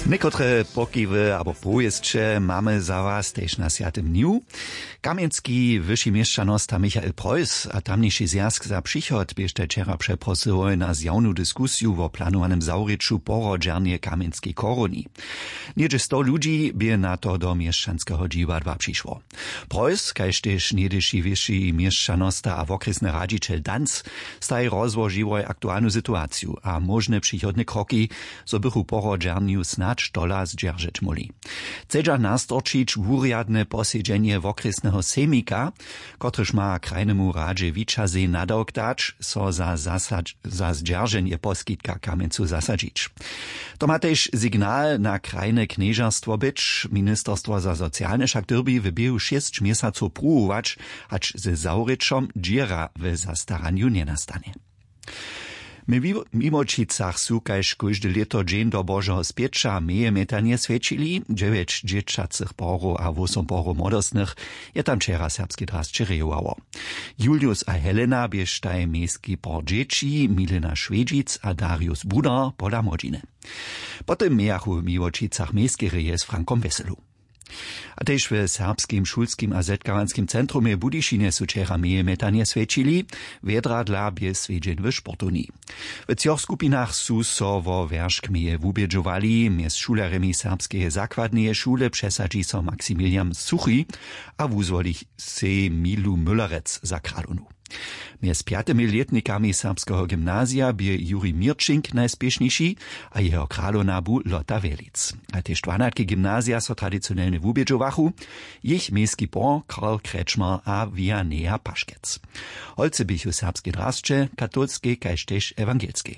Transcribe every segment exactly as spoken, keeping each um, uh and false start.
Někotre pokiwy abo powěsće mamy za was tež na swjatym dnju. Kamjenski wyši měšćanosta Michael Preuss a tamniši zwjazk za přichod běštaj wčera přeprosyłoj na zjawnu diskusiju wo planowanym zawrěću porodźernje kamjenskej koroni. Něhdźe sto ludźi bě na to do měšćanskeho dźiwadła přišło. Preuss kaž tež něhdyši wyši měšćanosta a wokrjesny radźićel danc staj rozłožiłoj aktualnu situaciju a móžne přichodne kroki, zo bychu porodźernju snadź tola zdźeržeć móhli. Chcedźa nastorčić wurjadne posedźenje wokrjesneho sejmika, kotryž ma krajnemu radźe wićazej nadawk dać, so za zasadź za zdźerženje poskitka kamjencu zasadźić. To ma tež signal na krajne knježerstwo być. Ministerstwo za socialne wšak dyrbi w běhu šěsć měsacow pruwować, hač ze zawrěćom dźěra w zastaranju njenastanje. My w mimočicach su kaž kóžde lěto dźeń do božeho spěća meje mjetanje swjećili. Dźewjeć dźěćacych porow a wosom porow młodostnych je tam wčera serbske drasće rejowało. Julius a Helena běštaj mejski por dźěći, Milena Šwedźic a Darius Budar pola młodźiny. Potom mějachu w Miłočicach mejskereje z Frankom Weselu. A tež w serbskim šulskim a zetkawanskim centrumje w Budyšinje su wčera meje mjetanje swjećili. Wjedra dla bě swjedźeń w sportowni. W třoch skupinach su so wo wjeršk meje wubědźowali. Mjez šulerjemi serbskeje zakładneje šule přesadźi so Maximilian Suchi a wuzwoli sej Milu Müllerec za kralownu. Mjez pjatymi lětnikami serbskeho gymnazija bě Juri Měrčink najspěšniši a jeho kralowna bu Lotta Wjelic. A tež dwanatki gymnazija so tradicionelnje wubědźowachu. Jich mejski por Karl Kretschmer a Vianeja Paškec. Holcy běchu serbskej drasće, katolskej kaž tež ewangelskej.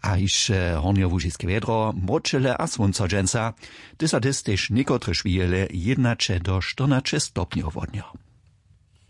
A hišće hornjołužiske wjedro, mróčele a słónco dźensa. Ty so dys tež někotrež wijele jědnaće do štyrnaće stopnjow wodnjo.